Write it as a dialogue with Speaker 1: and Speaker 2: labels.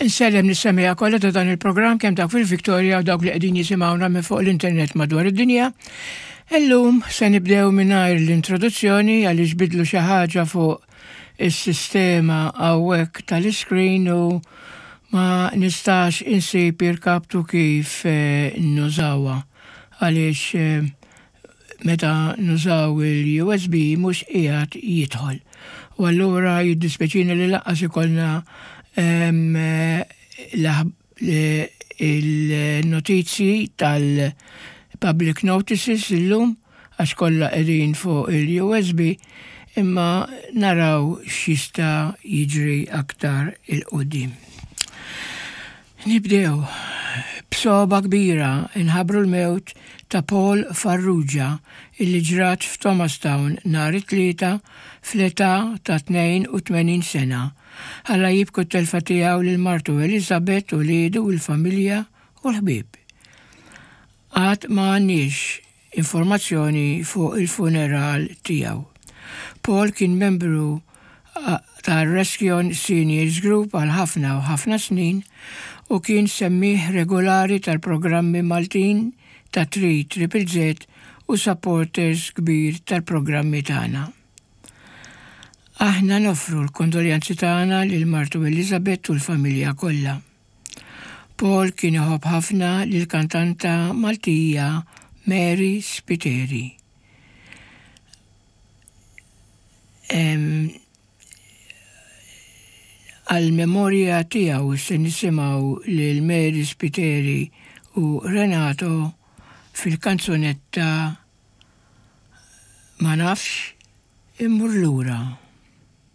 Speaker 1: Insellem lis-semmiegħa kollha ta' dan il-programm kemm dawk fil-Victoria u dawk li qegħdin jisimgħuna minn fuq l-internet madwar id-dinja. Illum se nibdew mingħajr l-introduzzjoni għaliex bidlu xi ħaġa fuq is-sistema hawnhekk tal-iscreen u ma nistax insib irkaptu kif eh, nużawha għaliex eh, meta nużaw il-USB mhux qiegħed jidħol. U allura jiddispjaċini li lanqas ikollna il-notizji tal-public notices illum għax kollha qegħdin fuq il-USB imma naraw x'jista' jiġri aktar il-qudiem. Nibdew b'sogħba kbira nħabbru l-mewt ta' Paul Farrugia illi ġrat f'Thomastown nhar it-Tlieta fl-età ta' 82 sena. Ħalla jibku t-telfa tiegħu lil martu Elizabeth, uliedu, il-familja u l-ħbieb. Għad ma għandniex informazzjoni fuq il-funeral tiegħu. Paul kien membru tar-Rescyon Seniors Group għal ħafna u ħafna snin u kien semmiegħ regolari tal-programmi Maltin ta' 3 Triple Z u supporters kbir tal-programmi tagħna. Aħna noffru l-kondoljanzi tagħna lil martu Elizabeth u l-familja kollha. Paul kien iħobb ħafna lill-kantanta Maltija Mary Spiteri. Għall-memorja tiegħu se nisimgħu lil Mary Spiteri u Renato fil-kanzunetta Ma nafx immur lura.